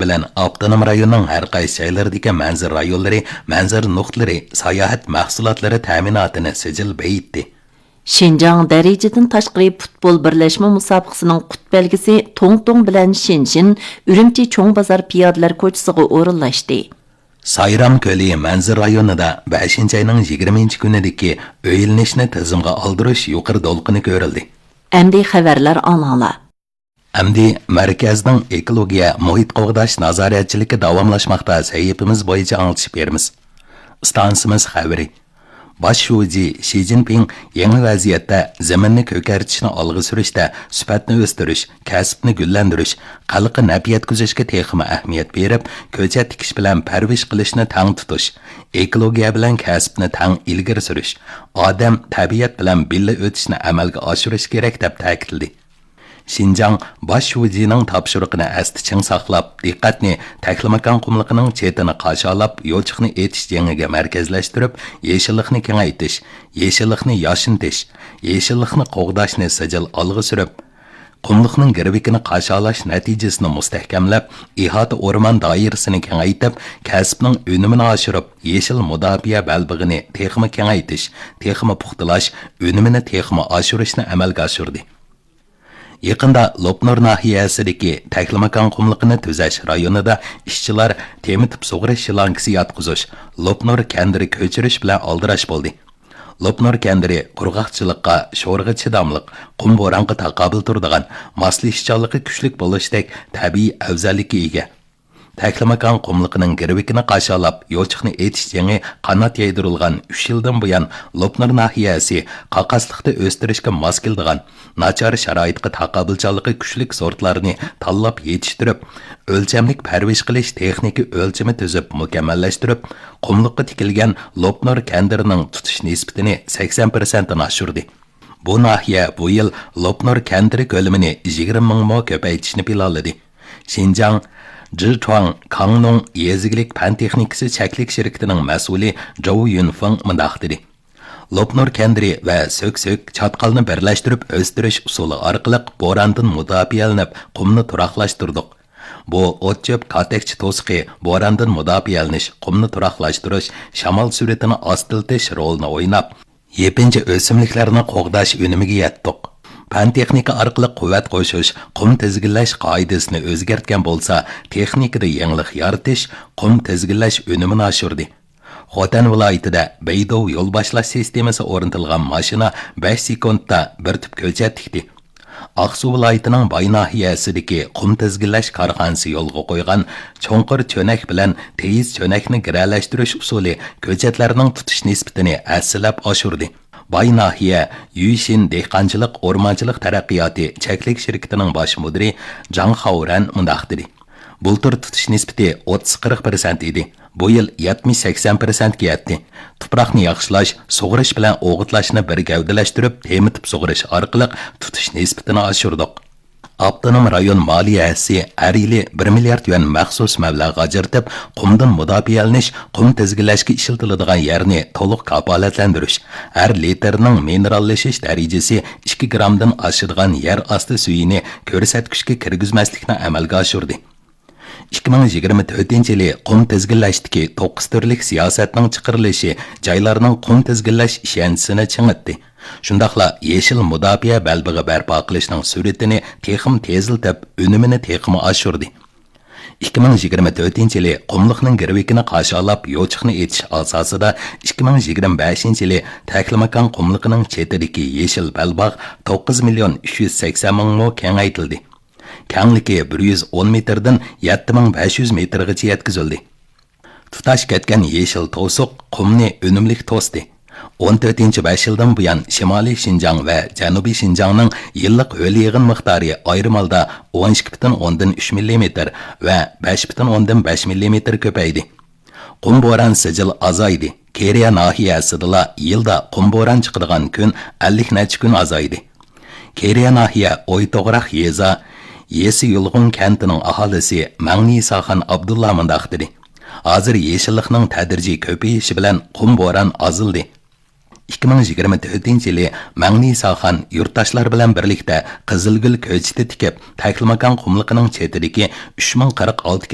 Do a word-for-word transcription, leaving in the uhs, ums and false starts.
بىلەن ئاپتونوم رايوننىڭ ھەر قايسى جايلىرىدىكى مەنزىرە رايونلىرى، مەنزىرە نۇقتىلىرى، ساياھەت مەھسۇلاتلىرى تەمىناتىنى سىجىل بېيىتتى. شىنجاڭ دەرىجىدىن تاشقىرى پۇتبول بىرلەشمە مۇسابىقىسىنىڭ قۇت بەلگىسى توڭ توڭ بىلەن شىنشىن ئۈرۈمچى چوڭ بازار پىيادىلەر كوچىسىغا ئورۇنلاشتى. سايرام كۆلى مەنزىرە رايونىدا بەشىنچى ئاينىڭ يىگىرمىنچى كۈنىدىكى ئۆيلىنىشنى تىزىمغا ئالدۇرۇش يۇقىرى دولقۇنى كۆرۈلدى. ئەمدى خەۋەرلەر ئاڭلاڭلار. ئەمدى مەركەزنىڭ ئېكولوگىيە، مۇھىت قوغداش نازارەتچىلىكى داۋاملاشماقتا سەھىپىمىز بويىچە ئاڭلىتىش بېرىمىز. ئىستانسىمىز خەۋىرى. باش شۇجى شى جىنپىڭ يېڭى ۋەزىيەتتە زېمىننى كۆكەرتىشنى ئالغا سۈرۈشتە سۈپەتنى ئۆستۈرۈش، كەسىپنى گۈللەندۈرۈش، خەلققە نەپ يەتكۈزۈشكە تېخىمۇ ئەھمىيەت بېرىپ، كۆچەت تىكىش بىلەن پەرۋىش قىلىشنى تەڭ تۇتۇش، ئېكولوگىيە بىلەن كەسىپنى تەڭ ئىلگىرى سۈرۈش، ئادەم، تەبىئەت بىلەن بىللە ئۆتۈشنى ئەمەلگە ئاشۇرۇش كېرەك، دەپ تەكىتلىدى. شىنجاڭ باش شۇجىنىڭ تاپشۇرۇقىنى ئەستە چىڭ ساقلاپ، دىققەتنى تەكلىماكان قۇملۇقىنىڭ چېتىنى قاشالاپ، يوچۇقنى ئېتىش جېڭىگە مەركەزلەشتۈرۈپ، يېشىللىقنى كېڭەيتىش، يېشىللىقنى ياشنىتىش، يېشىللىقنى قوغداشنى سىجىل ئالغا سۈرۈپ، قۇملۇقنىڭ گىرۋىكىنى قاشالاش نەتىجىسىنى مۇستەھكەملەپ، ئىھاتە ئورمان دائىرىسىنى كېڭەيتىپ، كەسىپنىڭ ئۈنۈمىنى ئاشۇرۇپ، يېشىل مۇداپىئە بەلبېغىنى تېخىمۇ كېڭەيتىش، تېخىمۇ پۇختىلاش، ئۈنۈمىنى تېخىمۇ ئاشۇرۇشنى ئەمەلگە ئاشۇردى. يېقىندا لوپنۇر ناھىيەسىدىكى تەكلىماكان قۇملۇقىنى تۈزەش رايونىدا ئىشچىلار تېمىتىپ سۇغىرىش شلانكىسى ياتقۇزۇش، لوپنۇر كەندىرى كۆچۈرۈش بىلەن ئالدىراش بولدى. لوپنۇر كەندىرى قۇرغاقچىلىققا، شورىغا چىداملىق، قۇم بورانغا تاقابىل تۇرىدىغان، ماسلىشىشچانلىقى كۈچلۈك بولۇشتەك تەبىئىي ئەۋزەللىككە ئىگە. تەكلىماكان قۇملۇقىنىڭ گىرۋىكىنى قاشالاپ، يوچۇقنى ئېتىش جېڭى قانات يايدۇرۇلغان ئۈچ يىلدىن بۇيان، لوپنۇر ناھىيەسى قاقاسلىقتا ئۆستۈرۈشكە ماس كېلىدىغان، ناچار شارائىتقا تاقابىلچانلىقى كۈچلۈك سورتلارنى تاللاپ يېتىشتۈرۈپ، ئۆلچەملىك پەرۋىش قىلىش تېخنىكا ئۆلچىمى تۈزۈپ مۇكەممەللەشتۈرۈپ، قۇملۇققا تىكىلگەن لوپنۇر كەندىرىنىڭ تۇتۇش نىسبىتىنى سەكسەن پىرسەنتتىن ئاشۇردى. بۇ ناھىيە بۇ يىل لوپنۇر كەندىرى كۆلىمىنى يىگىرمە مىڭ مو كۆپەيتىشنى پىلانلىدى. شىنجاڭ جىچۇاڭ كاڭنۇڭ يېزا ئىگىلىك پەن تېخنىكىسى چەكلىك شىركىتىنىڭ مەسئۇلى جوۋ يۈنفېڭ مۇنداق دېدى: لوپنۇر كەندىرى ۋە سۆكسۆك، چاتقالنى بىرلەشتۈرۈپ ئۆستۈرۈش ئۇسۇلى ئارقىلىق بوراندىن مۇداپىئەلىنىپ، قۇمنى تۇراقلاشتۇردۇق. بۇ ئوت-چۆپ، كاتەكچە توسۇقى، بوراندىن مۇداپىئەلىنىش، قۇمنى تۇراقلاشتۇرۇش، شامال سۈرئىتىنى ئاستىلىتىش رولىنى ئويناپ، يېپىنچا ئۆسۈملۈكلەرنى قوغداش ئۈنۈمىگە يەتتۇق. پەن-تېخنىكا ئارقىلىق قۇۋۋەت قوشۇش، قۇم تىزگىنلەش قائىدىسىنى ئۆزگەرتكەن بولسا، تېخنىكىدا يېڭىلىق يارىتىش، قۇم تىزگىنلەش ئۈنۈمىنى ئاشۇردى. خوتەن ۋىلايىتىدە بەيدۇ يول باشلاش سىستېمىسى ئورنىتىلغان ماشىنا بەش سېكۇنتتا بىر تۈپ كۆچەت تىكتى. ئاقسۇ ۋىلايىتىنىڭ باي ناھىيەسىدىكى قۇم تىزگىنلەش كارخانىسى يولغا قويغان چوڭقۇر چۆنەك بىلەن تېيىز چۆنەكنى گىرەلەشتۈرۈش ئۇسۇلى كۆچەتلەرنىڭ تۇتۇش نىسبىتىنى ھەسسىلەپ ئاشۇردى. باي ناھىيە يۈشىن دېھقانچىلىق ئورمانچىلىق تەرەققىياتى چەكلىك شىركىتىنىڭ باش مۇدىرى جاڭ خاۋرەن مۇنداق دېدى: بۇلتۇر تۇتۇش نىسبىتى ئوتتۇز قىرىق پىرسەنت ئىدى. بۇ يىل يەتمىش سەكسەن پىرسەنتكە يەتتى. تۇپراقنى ياخشىلاش، سۇغىرىش بىلەن ئوغۇتلاشنى بىر گەۋدىلەشتۈرۈپ، تېمىتىپ سۇغىرىش ئارقىلىق تۇتۇش نىسبىتىنى ئاشۇردۇق. ئاپتونوم رايون مالىيە ھەسسىسى ھەر يىلى بىر مىليارد يۈەن مەخسۇس مەبلەغ ئاجرىتىپ، قۇمدىن مۇداپىئەلىنىش، قۇم تىزگىنلەشكە ئىشلىتىلىدىغان يەرنى تولۇق كاپالەتلەندۈرۈش، ھەر لىتىرنىڭ مىنېراللىشىش دەرىجىسى ئىككى گرامدىن ئاشىدىغان يەر ئاستى سۈيىنى كۆرسەتكۈچكە كىرگۈزمەسلىكنى ئەمەلگە ئاشۇردى. ئىككى مىڭ يىگىرمە تۆتىنچى يىلى قۇم تىزگىنلەشتىكى توققۇز تۈرلۈك سىياسەتنىڭ چىقىرىلىشى جايلارنىڭ قۇم تىزگىنلەش ئىشەنچىسىنى چىڭىتتى. شۇنداقلا يېشىل مۇداپىئە بەلبېغى بەرپا قىلىشنىڭ سۈرئىتىنى تېخىمۇ تېزلىتىپ، ئۈنۈمىنى تېخىمۇ ئاشۇردى. ئىككى مىڭ يىگىرمە تۆتىنچى يىلى قۇملۇقنىڭ گىرۋىكىنى قاشالاپ، يوچۇقنى ئېتىش ئاساسىدا، ئىككى مىڭ يىگىرمە بەشىنچى يىلى تەكلىماكان قۇملۇقىنىڭ چېتىدىكى يېشىل بەلباغ توققۇز مىليون ئۈچ يۈز سەكسەن مىڭ مو كېڭەيتىلدى. كەڭلىكى بىر يۈز ئون مېتىردىن يەتتە مىڭ بەش يۈز مېتىرغىچە يەتكۈزۈلدى. تۇتاش كەتكەن يېشىل توسۇق قۇمنى ئۈنۈملۈك توستى. ئون تۆتىنچى بەش يىلدىن بۇيان شىمالىي شىنجاڭ ۋە جەنۇبىي شىنجاڭنىڭ يىللىق ھۆل يېغىن مىقدارى ئايرىم ھالدا ئون ئىككى پۈتۈن ئوندىن ئۈچ مىللىمېتىر ۋە بەش پۈتۈن ئوندىن بەش مىللىمېتىر كۆپەيدى. قۇم بوران سىجىل ئازايدى. كېرىيە ناھىيەسىدىلا يىلدا قۇم بوران چىقىدىغان كۈن ئەللىك نەچچە كۈن ئازايدى. كېرىيە ناھىيە ئويتوغراق يېزا يېسى يۇلغۇن كەنتىنىڭ ئاھالىسى مەڭنىساخان ئابدۇللا مۇنداق دېدى: ھازىر يېشىللىقنىڭ تەدرىجىي كۆپىيىشى بىلەن قۇم بوران ئازلىدى. ئىككى مىڭ يىگىرمە تۆتىنچى يىلى مەڭنىساخان يۇرتداشلار بىلەن بىرلىكتە قىزىلگۈل كۆچىتى تىكىپ، تەكلىماكان قۇملۇقىنىڭ چېتىدىكى ئۈچ مىڭ قىرىق ئالتە كىلومېتىر